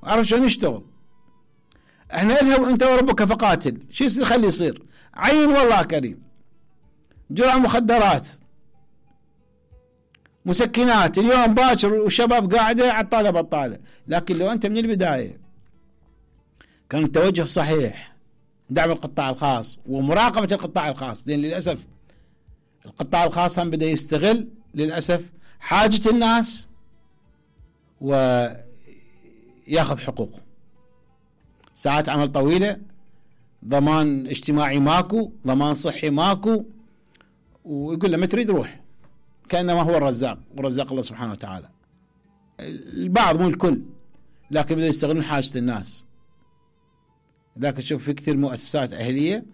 وعرف شلون يشتغل. احنا اذهب انت وربك فقاتل، شو يخلي يصير؟ عين والله كريم، جرعة مخدرات، مسكنات، اليوم باكر والشباب قاعدة عطالة بطالة. لكن لو انت من البداية كان التوجه صحيح، دعم القطاع الخاص ومراقبة القطاع الخاص، لأن للأسف القطاع الخاص هم بدأ يستغل للأسف حاجة الناس وياخذ حقوقه. ساعات عمل طويلة، ضمان اجتماعي ماكو، ضمان صحي ماكو، ويقول له ما تريد روح، كأنما هو الرزاق، ورزاق الله سبحانه وتعالى. البعض مو الكل، لكن بدأوا يستغلون حاجة الناس. ذاك تشوف في كثير مؤسسات أهلية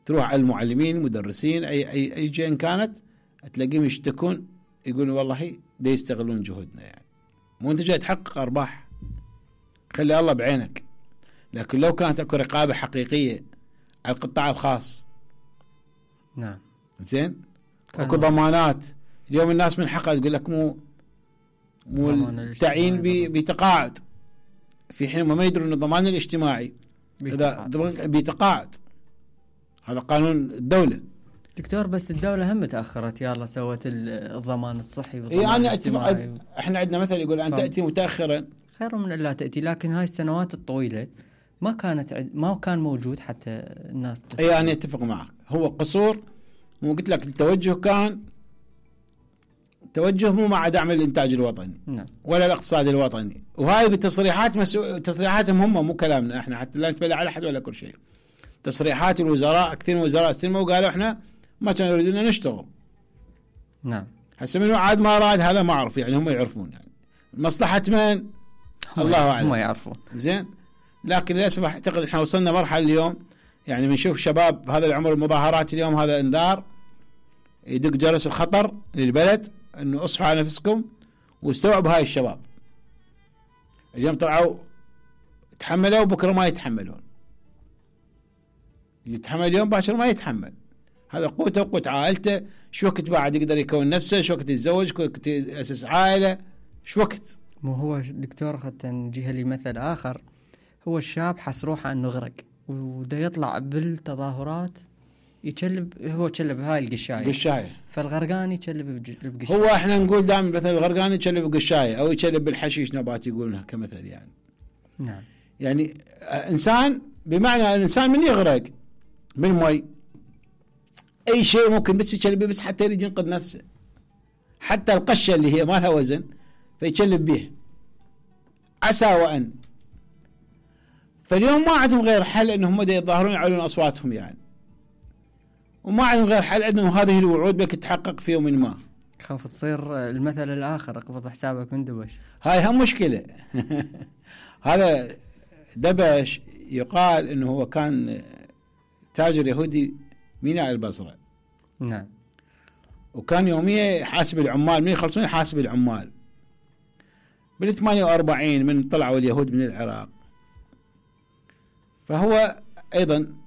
تروح على المعلمين، المدرسين، أي جهة إن كانت، تلاقيهم يشتكون، يقولون والله دا يستغلون جهودنا. يعني مو أنت جاي تحقق أرباح، خلي الله بعينك. لكن لو كانت اكو رقابة حقيقية على القطاع الخاص، نعم زين، اكو ضمانات. اليوم الناس من حقها تقول لك مو التعيين بتقاعد، في حين ما يدرون ان الضمان الاجتماعي بتقاعد، هذا قانون الدولة. دكتور بس الدولة هم تأخرت، يلا سوت الضمان الصحي والضمان الاجتماعي. احنا عندنا مثل يقول أن تأتي متأخرا خير من لا تأتي. لكن هاي السنوات الطويلة ما كان موجود حتى الناس تفهم. يعني اتفق معك، هو قصور. مو قلت لك التوجه كان توجه مو مع دعم الانتاج الوطني، نعم، ولا الاقتصاد الوطني. وهاي بالتصريحات تصريحاتهم هم، مو كلامنا احنا، حتى لا نتبلع على احد ولا كل شيء. تصريحات الوزراء، كثير من الوزراء استلموا وقالوا احنا ما كانوا يريدون نشتغل. نعم، هسه منو عاد ما راد هذا ما اعرف، يعني هم يعرفون يعني مصلحة من الله اعلم، هم يعرفون. زين، لكن للاسف اعتقد احنا وصلنا مرحله اليوم، يعني بنشوف شباب هذا العمر المظاهرات اليوم، هذا انذار يدق جرس الخطر للبلد، انه اصحوا على نفسكم واستوعبوا هاي الشباب. اليوم طلعوا تحملوا، بكره ما يتحملون. يتحمل اليوم باكر ما يتحمل. هذا قوته وقوة عائلته، شو وقت بعد يقدر يكون نفسه، شو وقت يتزوج، شو وقت يأسس عائلة، شو وقت. مو هو دكتور حتى نجيها لمثل آخر، هو الشاب حس روحه انه غرق وده يطلع بالتظاهرات يشلب، هو يشلب هاي القشاية، فالغرقان يشلب بقشاية. هو احنا نقول دائما مثل الغرقان يشلب بقشاية او يشلب بالحشيش، نبات يقولونها كمثل يعني. نعم، يعني انسان، بمعنى الانسان من يغرق بالمي اي شيء ممكن بس يشلب، بس حتى يريد ينقذ نفسه، حتى القشة اللي هي ما لها وزن فيشلب به عسى وأن. فاليوم ما عندهم غير حل انهم يتظاهرون يعلون اصواتهم يعني، وما عندهم غير حل انه هذه الوعود بك تتحقق في يوم ما. خاف تصير المثل الاخر، اقبض حسابك من دبش. هاي هم مشكلة. هذا دبش يقال انه هو كان تاجر يهودي ميناء البصرة. نعم، وكان يوميا يحاسب العمال، من يخلصون يحاسب العمال. بال 48 من طلعوا اليهود من العراق، فهو أيضا